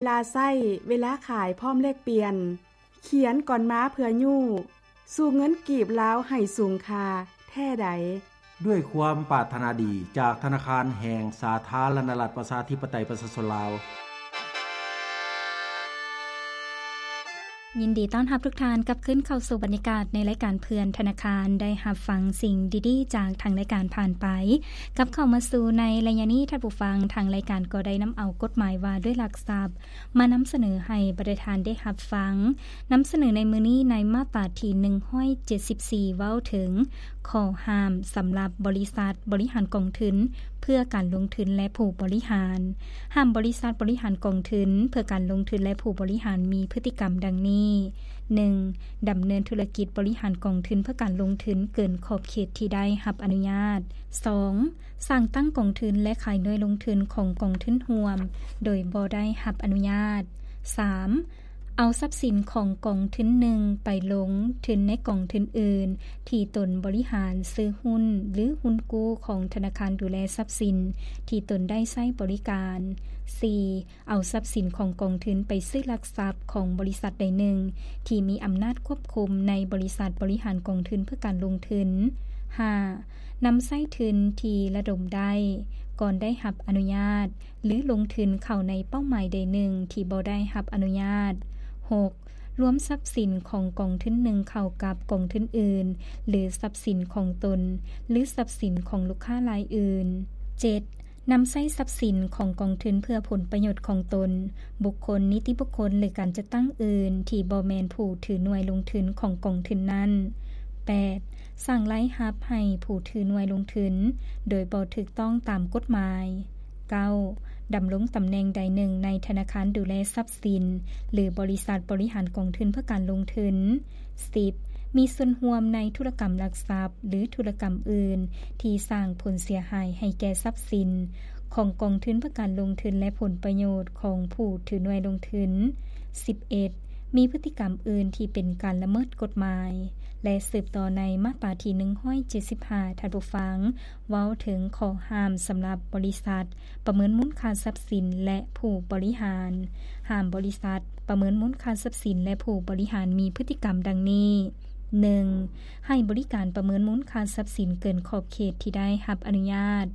ລາໃຊ້ ເວລາຂາຍພ້ອມແລກປ່ຽນ. ຂຽນກ່ອນມາເພື່ອຍູ້ ສູ້ເງິນກີບລາວໃຫ້ສູງຄ່າແທ້ໃດ. ດ້ວຍຄວາມປາດຖະໜາດີຈາກທະນາຄານແຫ່ງສາທາລະນະລັດ ປະຊາທິປະໄຕ ປະຊາຊົນລາວ. ຍິນດີຕ້ອນຮັບທຸກທ່ານກັບຄືນເຂົ້າສູ່ບັນຍາກາດໃນລາຍການເພື່ອນທະນາຄານ ໄດ້ຮັບຟັງສິ່ງດີໆຈາກທາງລາຍການຜ່ານໄປ. ກັບເຂົ້າມາສູ່ໃນໄລຍະນີ້ ທ່ານຜູ້ຟັງ, ທາງລາຍການກໍໄດ້ນຳເອົາກົດໝາຍວ່າດ້ວຍລັກຊັບ ມານຳສະເໜີໃຫ້ບັນດາທ່ານໄດ້ຮັບຟັງ. ນຳສະເໜີໃນມື້ນີ້ໃນມາດຕາທີໜຶ່ງຮ້ອຍເຈັດສິບສີ່ ເວົ້າເຖິງຂໍ້ຫ້າມສຳລັບບໍລິສັດບໍລິຫານກອງທຶນເພື່ອການລົງທຶນ ແລະ ຜູ້ບໍລິຫານ. ຫ້າມບໍລິສັດບໍລິຫານກອງທຶນເພື່ອການລົງທຶນ ແລະ ຜູ້ບໍລິຫານມີພຶດຕິກຳດັ່ງນີ້: ໜຶ່ງ ດຳເນີນທຸລະກິດບໍລິຫານກອງທຶນເພື່ອການລົງທຶນເກີນຂອບເຂດທີ່ໄດ້ຮັບອະນຸຍາດ. ສອງ ສ້າງຕັ້ງກອງທຶນ ແລະ ຂາຍໜ່ວຍລົງທຶນຂອງກອງທຶນຮ່ວມໂດຍບໍ່ໄດ້ຮັບອະນຸຍາດ. ສາມ ເອົາຊັບສິນຂອງກອງທຶນໜຶ່ງໄປລົງທຶນໃນກອງທຶນອື່ນທີ່ຕົນບໍລິຫານ ຊື້ຫຸ້ນ ຫຼື ຫຸ້ນກູ້ຂອງທະນາຄານດູແລຊັບສິນທີ່ຕົນໄດ້ໃຊ້ບໍລິການ. ສີ່ ເອົາຊັບສິນຂອງກອງທຶນໄປຊື້ຫຼັກຊັບຂອງບໍລິສັດໃດໜຶ່ງທີ່ມີອຳນາດຄວບຄຸມໃນບໍລິສັດບໍລິຫານກອງທຶນເພື່ອການລົງທຶນ. ຫ້າ ນຳໃຊ້ທຶນທີ່ລະດົມໄດ້ກ່ອນໄດ້ຮັບອະນຸຍາດ ຫຼື ລົງທຶນເຂົ້າໃນເປົ້າໝາຍໃດໜຶ່ງທີ່ບໍ່ໄດ້ຮັບອະນຸຍາດ. ຫົກ ລວມຊັບສິນຂອງກອງທຶນໜຶ່ງເຂົ້າກັບກອງທຶນອື່ນ ຫຼື ຊັບສິນຂອງຕົນ ຫຼື ຊັບສິນຂອງລູກຄ້າລາຍອື່ນ. ເຈັດ ນຳໃຊ້ຊັບສິນຂອງກອງທຶນເພື່ອຜົນປະໂຫຍດຂອງຕົນ, ບຸກຄົນ, ນິຕິບຸກຄົນ ຫຼື ການຈັດຕັ້ງອື່ນທີ່ບໍ່ແມ່ນຜູ້ຖືໜ່ວຍລົງທຶນຂອງກອງທຶນນັ້ນ. ແປດ ສ້າງລາຍຮັບໃຫ້ຜູ້ຖືໜ່ວຍລົງທຶນໂດຍບໍ່ຖືກຕ້ອງຕາມກົດໝາຍ. ເກົ້າ ດຳລົງຕຳແໜ່ງໃດໜຶ່ງໃນທະນາຄານດູແລຊັບສິນ ຫຼື ບໍລິສັດບໍລິຫານກອງທຶນເພື່ອການລົງທຶນ. ສິບ ມີສ່ວນຮ່ວມໃນທຸລະກຳຫຼັກຊັບ ຫຼື ທຸລະກຳອື່ນທີ່ສ້າງຜົນເສຍຫາຍໃຫ້ແກ່ຊັບສິນຂອງກອງທຶນເພື່ອການລົງທຶນ ແລະ ຜົນປະໂຫຍດຂອງຜູ້ຖືໜ່ວຍລົງທຶນ. ສິບເອັດ ມີພຶດຕິກຳອື່ນທີ່ເປັນການລະເມີດກົດໝາຍ. ແລະ ສືບຕໍ່ໃນມາດຕາທີໜຶ່ງຮ້ອຍເຈັດສິບຫ້າ ທ່ານຜູ້ຟັງ ເວົ້າເຖິງຂໍ້ຫ້າມສຳລັບບໍລິສັດປະເມີນມູນຄ່າຊັບສິນ ແລະ ຜູ້ບໍລິຫານ. ຫ້າມບໍລິສັດປະເມີນມູນຄ່າຊັບສິນ ແລະ ຜູ້ບໍລິຫານມີພຶດຕິກຳດັ່ງນີ້: ໜຶ່ງ ໃຫ້ບໍລິການປະເມີນມູນຄ່າຊັບສິນເກີນຂອບເຂດທີ່ໄດ້ຮັບອະນຸຍາດ.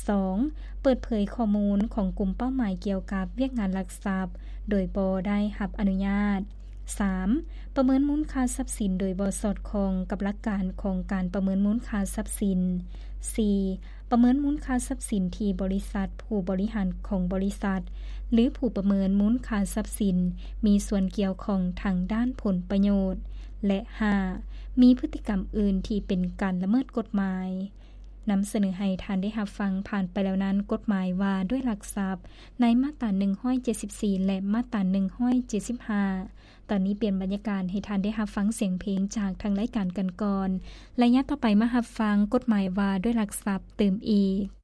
ສອງ ເປີດເຜີຍຂໍ້ມູນຂອງກຸ່ມເປົ້າໝາຍກ່ຽວກັບວຽກງານລັກຊັບໂດຍບໍ່ໄດ້ຮັບອະນຸຍາດ. ສາມ ປະເມີນມູນຄ່າຊັບສິນໂດຍບໍ່ສອດຄ່ອງກັບຫຼັກການຂອງການປະເມີນມູນຄ່າຊັບສິນ. ສີ່ ປະເມີນມູນຄ່າຊັບສິນທີ່ບໍລິສັດ, ຜູ້ບໍລິຫານຂອງບໍລິສັດ ຫຼື ຜູ້ປະເມີນມູນຄ່າຊັບສິນມີສ່ວນກ່ຽວຂ້ອງທາງດ້ານຜົນປະໂຫຍດ. ແລະ ຫ້າ ມີພຶດຕິກຳອື່ນທີ່ເປັນການລະເມີດກົດໝາຍ. ນຳສະເໜີໃຫ້ທ່ານໄດ້ຮັບຟັງຜ່ານໄປແລ້ວນັ້ນ ກົດໝາຍວ່າດ້ວຍຫຼັກຊັບ ໃນມາດຕາໜຶ່ງຮ້ອຍເຈັດສິບສີ່ ແລະ ມາດຕາໜຶ່ງຮ້ອຍເຈັດສິບຫ້າ. ຕອນນີ້ປ່ຽນບັນຍາກາດໃຫ້ທ່ານໄດ້ຮັບຟັງສຽງເພງຈາກທາງລາຍການກັນກ່ອນ. ໄລຍະຕໍ່ໄປມາຮັບຟັງກົດໝາຍວ່າດ້ວຍຫຼັກຊັບຕື່ມອີກ.